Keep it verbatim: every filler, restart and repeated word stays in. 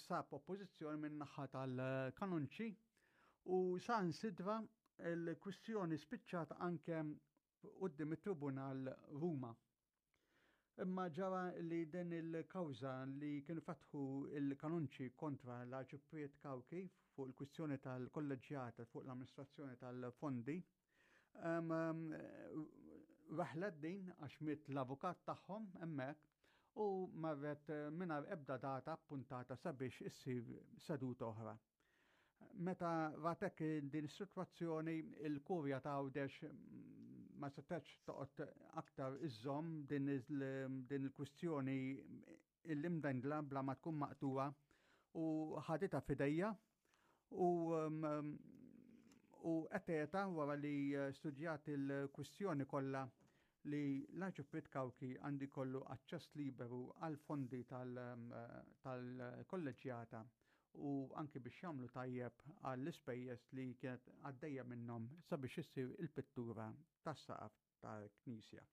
sab oppożizzjoni minn naħa tal-kanonċi u saħansitra l-kwistjoni spiċċat anke quddiem it-Tribunal Ruma. Imma ġara li din il-kawża li kienu fetħu il-kanonċi kontra l-Arċipriet Cauchi fuq il-kwistjoni tal-kolleġjata fuq l-amministrazzjoni tal-fondi, weħlet din għax miet l-avukat tagħhom hemmhekk u marret mingħajr ebda data appuntata sabiex issir seduta oħra. Meta ratek din is-sitwazzjoni, il-Kurja ta' Għawdex ma setgħetx toqgħod aktar iżżomm din il-kwistjoni il-imdendla bla ma tkun maqtuwa u ħaditha f'idejha u u qetgħetha wara li studjat il-kwistjoni kollha li l-Arċipriet Cauchi għandu jkollu aċċess liberu għal fondi tal-kolleġjata u anki biex jagħmlu tajjeb għall-ispejjeż li kienet għaddejja minnhom sabiex issir il-pittura tas-saqaf tal-Knisja.